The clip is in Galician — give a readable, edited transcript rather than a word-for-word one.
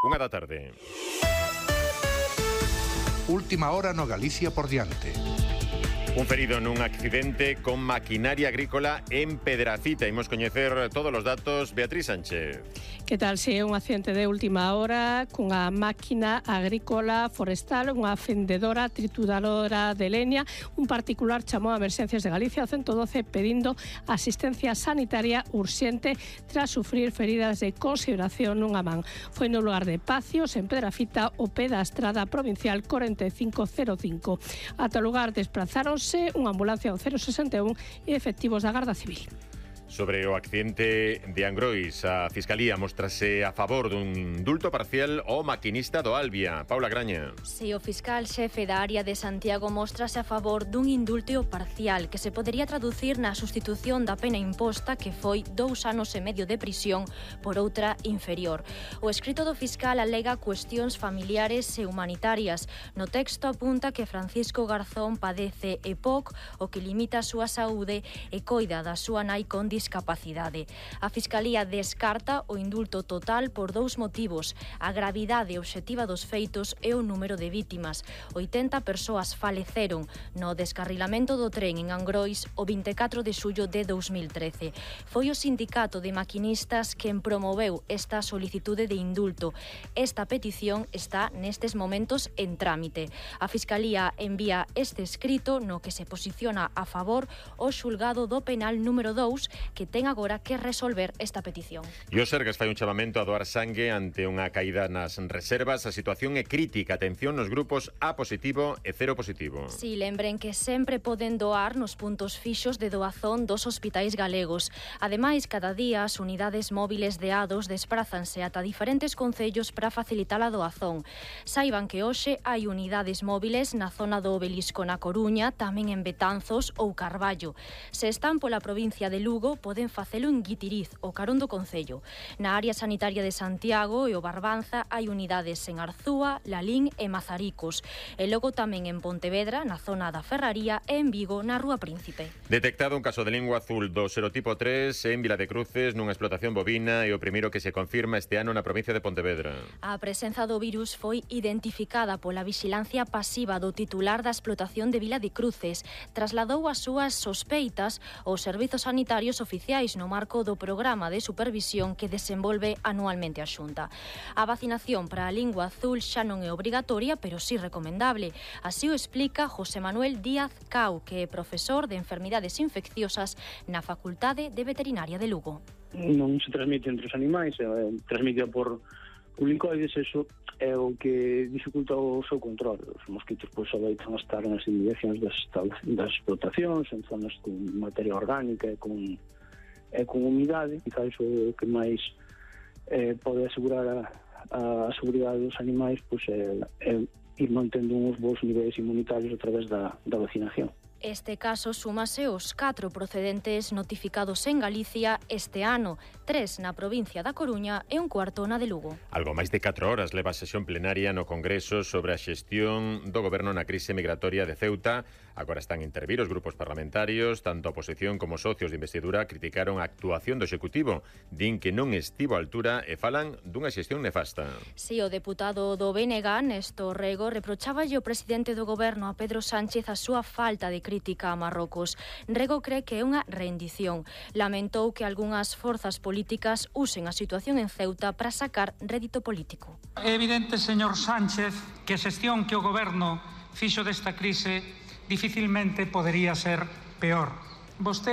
1:00 da tarde. Última hora no Galicia por diante. Un ferido nun accidente con maquinaria agrícola en Pedrafita. Imos coñecer todos os datos. Beatriz Sánchez. Que tal se é un accidente de última hora cunha máquina agrícola forestal, unha fendedora trituradora de leña? Un particular chamou a Emerxencias de Galicia ao 112 pedindo asistencia sanitaria urxente tras sufrir feridas de consideración nunha man. Foi no lugar de Pacios, en Pedrafita, o pé da estrada provincial 4505. Ata o lugar desplazáronse unha ambulancia ao 061 e efectivos da Garda Civil. Sobre o accidente de Angrois, a Fiscalía mostrase a favor dun indulto parcial ao maquinista do Albia. Paula Graña. Si, o fiscal xefe da área de Santiago mostrase a favor dun indulto parcial que se podería traducir na sustitución da pena imposta, que foi 2 anos e medio de prisión, por outra inferior. O escrito do fiscal alega cuestións familiares e humanitarias. No texto apunta que Francisco Garzón padece EPOC, o que limita a súa saúde e coida da súa nai con discapacidade. A Fiscalía descarta o indulto total por 2 motivos: a gravidade obxectiva dos feitos e o número de vítimas. 80 persoas faleceron no descarrilamento do tren en Angrois o 24 de xullo de 2013. Foi o sindicato de maquinistas quen promoveu esta solicitude de indulto. Esta petición está nestes momentos en trámite. A Fiscalía envía este escrito no que se posiciona a favor o xulgado do penal número 2, que ten agora que resolver esta petición. E o Sergas fai un chamamento a doar sangue ante unha caída nas reservas. A situación é crítica. Atención nos grupos A positivo e 0 positivo. Si, lembren que sempre poden doar nos puntos fixos de doazón dos hospitais galegos. Ademais, cada día as unidades móviles de ADOS desprázanse ata diferentes concellos para facilitar a doazón. Saiban que hoxe hai unidades móviles na zona do Obelisco na Coruña, tamén en Betanzos ou Carballo. Se están pola provincia de Lugo, poden facelo en Guitiriz, o carón do concello. Na área sanitaria de Santiago e o Barbanza hai unidades en Arzúa, Lalín e Mazaricos. E logo tamén en Pontevedra, na zona da Ferraría, e en Vigo, na Rúa Príncipe. Detectado un caso de lingua azul do serotipo 3 en Vila de Cruces nunha explotación bovina, e o primeiro que se confirma este ano na provincia de Pontevedra. A presenza do virus foi identificada pola vixilancia pasiva do titular da explotación de Vila de Cruces. Trasladou as súas sospeitas aos servizos sanitarios oficiais no marco do programa de supervisión que desenvolve anualmente a Xunta. A vacinación para a lingua azul xa non é obrigatoria, pero sí recomendable. Así o explica José Manuel Díaz Cau, que é profesor de enfermidades infecciosas na Facultade de Veterinaria de Lugo. Non se transmite entre os animais, transmite por lincoides. Eso é o que dificulta o seu control. Os mosquitos adoitan a estar nas inmediacións das explotacións, en zonas con materia orgánica e con humidade. Quizás o que máis pode asegurar a seguridade dos animais é ir mantendo uns bons niveis inmunitarios a través da vacinación. Este caso súmase aos 4 procedentes notificados en Galicia este ano, 3 na provincia da Coruña e un cuarto na de Lugo. Algo máis de 4 horas leva a sesión plenaria no Congreso sobre a xestión do goberno na crise migratoria de Ceuta. Agora están a intervir os grupos parlamentarios. Tanto a oposición como socios de investidura criticaron a actuación do Executivo. Din que non estivo á altura e falan dunha xestión nefasta. Si, o deputado do BNG, Néstor Rego, reprocháballe ao presidente do goberno, a Pedro Sánchez, a súa falta de crítica a Marrocos. Rego cree que é unha rendición. Lamentou que algunhas forzas políticas usen a situación en Ceuta para sacar rédito político. É evidente, señor Sánchez, que a xestión que o goberno fixo desta crise dificilmente podería ser peor. Vostede